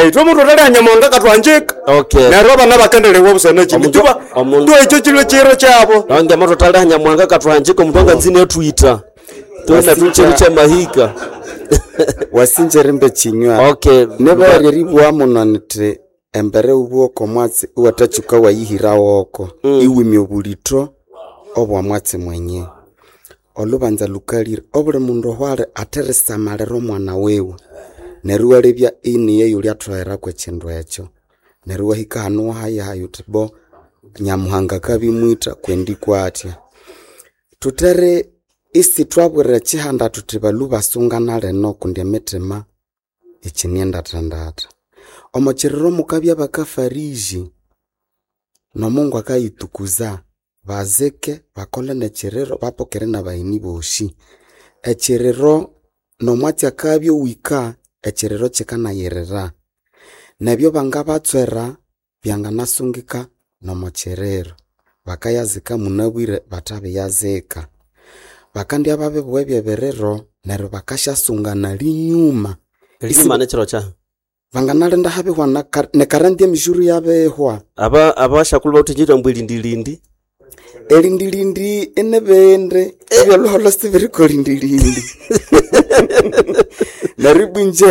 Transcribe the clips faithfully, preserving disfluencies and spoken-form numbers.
Itwe mundu utali Nyamuhanga akatwanjika. Okay. Neryo abana bakendelewa busana kindi. Omundu- Tuba omundu- tu ekyo kilwe kiro kyabo. Nange moto tali Nyamuhanga katwanjika omundu anganzine atwita. Tuna tucheri cha mahika. Wasinja rimbe chinywa. Okay. Nibere ribwa muno nti embere ubwoko mwatsi iwathatsuka wayihira woko iwimya obulitho obwa mwatsi mwenye. Olubanza lukalire obuli mundu ohwali atherisamalira omwana wiwe neryo iwalebya iniye yuli atholere ekindu ekyo. Neryo iwahika hanu iwahayahayu wuthi bo Nyamuhanga akabimwitha kwendi kwathya. Thutere isithwabwira ekihanda thuthi balhu basungana lino kundi emitima ikyine ndathandatha. Omo kiriro mukabya bakafariji n'Omungu akayitukuza bazike bakole n'ekiriro bapokere n'abagheni bosi. Ekiriro n'omwatsi akabya owika ekiriro kikanayirira. Nebyo bangabatswera byanganasungika n'omo kiriro. Bakayazika munabwire bathabiyazika. Bakandya babibugha eby'ebiriro neryo bakasyasunga linyuma. Linyuma nekiro kya. Banganalinda habihwa nekarandi emijuru yabihwa. Aba abashakulu bawuthe mbu elindilindi. Elindilindi inibindi ebyolhuholho sibiriko lindilindi. Neryo ibwa inje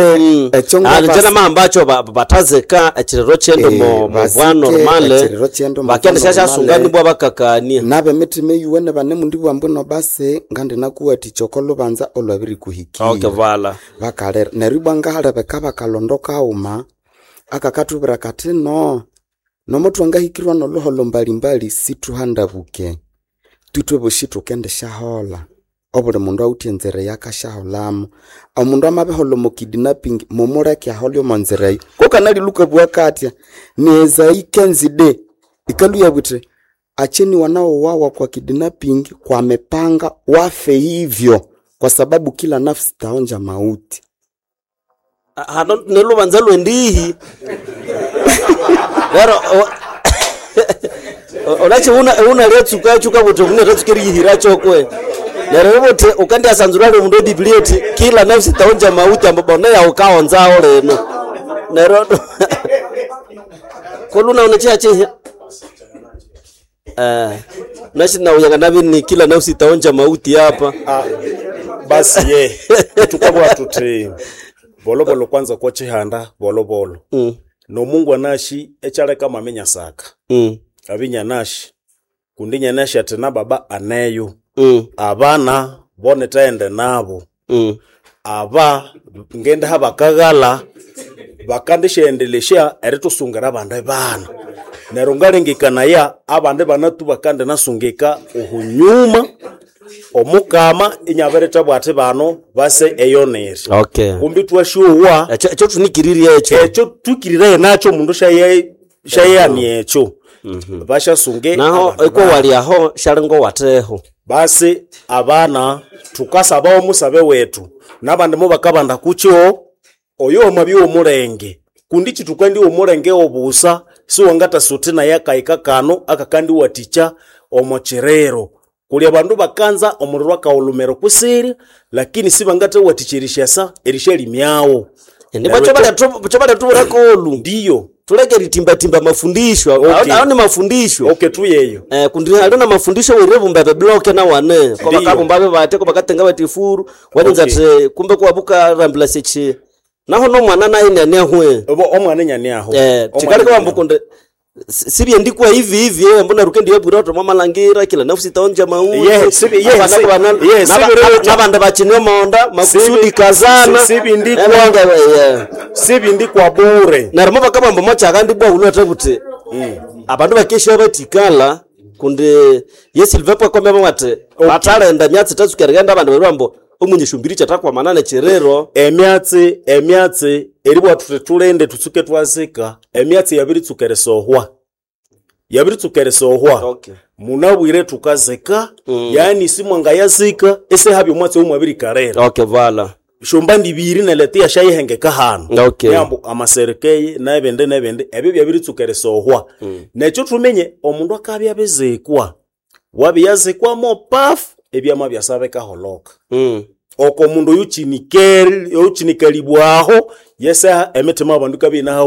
ekyo Ah, ngabasa- njena mahambacho ba- batazeka ekiriro kyendo Eh, mo muvwa bazike normale. ekiriro kyendo mu Bakende bwa syashasunga normale. nibwa bakakania. N'ab'emitima eyuwene banemundi bwambu basi ngandinakuwathikya oko lubanza olwabirikuhikira. Okay, vala. Bakalira neryo ibwa ngahalebeka bakalondo kaghuma akakathubwira kathi no nomo twangahikirwa n'olhuholho mbalimbali sithuhandabuke. Twithwe bosi thukendisyaholha. Obuli mundu awithe enzira eyakasyaholhamu. Omundu amabiholha omo kidnapping mumuleke ahole omo nzira eyo. Kukanalilukabugha kathya ni Ezai kenzide ikalhwa iyabugha ithi acheni wanaouawa kwa kidnapping kwa mipanga wafe hivyo kwa sababu kila nafsi taonja mauti. Hano nelubanza lwendihi. Lero o- Olachi una una letsuka chuka buti une letsuka eriyihira chokwe. Neryo buti ukandi asanzura le mundu Biblia eti kila nafsi taonja mauti ambo bona ya ukaonzao leno. Neryo koluna une chia chi eh nashi na uyanga nabi ni kila nafsi taonja mauti hapa. Ah, basi ye tukabwa tuthi bolobolo kwanza kwa chihanda bolobolo Mm. nomungu anashi echaleka mamenya saka Mm. abinya nashi kundi nyanashi ati na baba aneyo Mm. abana bone taende nabo Mm. aba ngende habakaghala bakandishaendelesha eritusungira abandi bana neryo ngalengekanaya abandi bana tu bakandinasungika ohunyuma omukama inyabirithabwa ati bano base eyonere Okay. kumbi twasyowa Ekyo ekyo tunikiririe ekyo. ekyo tukiriraye nakyo omundu syaye- syayeyania ekyo basyasunge Naho abandi eko bana. wali aho shalingo wateho. Basi abana tukasaba omusabe wetu nabandi mubakabanda kukyo oyo omwabya omulenge kundi kitukandi omulenge obusa siwangatasuti naye akahika kano akakandiwathikya omo kiriro kuli abandu bakanza omuliro akawulumero kusiri lakini sibangathawathikya erisyalimyawo Ndibwa chobalya tubulako ndiyo tuleke ritimbatimba mafundisho Okay. aho ni mafundisho okay tuyeyo Eh, kundi hali na mafundisho wiribumba bebloke na wane ko Ndiyo. bakabumba be bate ko bakatenga bati furu waninza Okay. ati kumbe kwabuka rambula sechi naho no mwana naye nyani ahwe obo omwana nyani aho eh tikalika wambukunde sibye ndikwa hivi hivi eh mbona rukendi yabura to mamalangira kila nafsi taonja mauti Yeah, sibi- yeah, Abana si- kubana- yeah, naba- sibi- nabandi bachine monda makusudi Sibi- kazana si- sibi ndikwa- Eh, banga- yeah. sibindi kwa bure neryo mubakabamba mochaka ndibwa ulwete buti abandu bakesha batikala kundi yesilvepo kombe bati batalenda myatsi tatsuka erighenda abandu baribambo omunyeshumbiri kyatakwamana nekiriro emyatsi emyatsi eribwa thuthi thulinde thutsuke twazika emyatsi yabiritsuka erisohwa yabiritsuka erisohwa Okay. munabwire thukazika yani simwangayazika isihabya omwatsi omwabirikalira okay vala shomba ndibiri neleta yashayihengeka hano Okay. nyambu amaserekeye nebindi nebindi ebyo byabiritsuka erisohwa nekyo thumenye omundu akabya abizikwa wabiyazikwa paf ebyama byasaba bikaholoka mm. Oko mundu oyuchinikeri oyuchinikalibwaho yesaha emitima y'abandu ikabya inaha.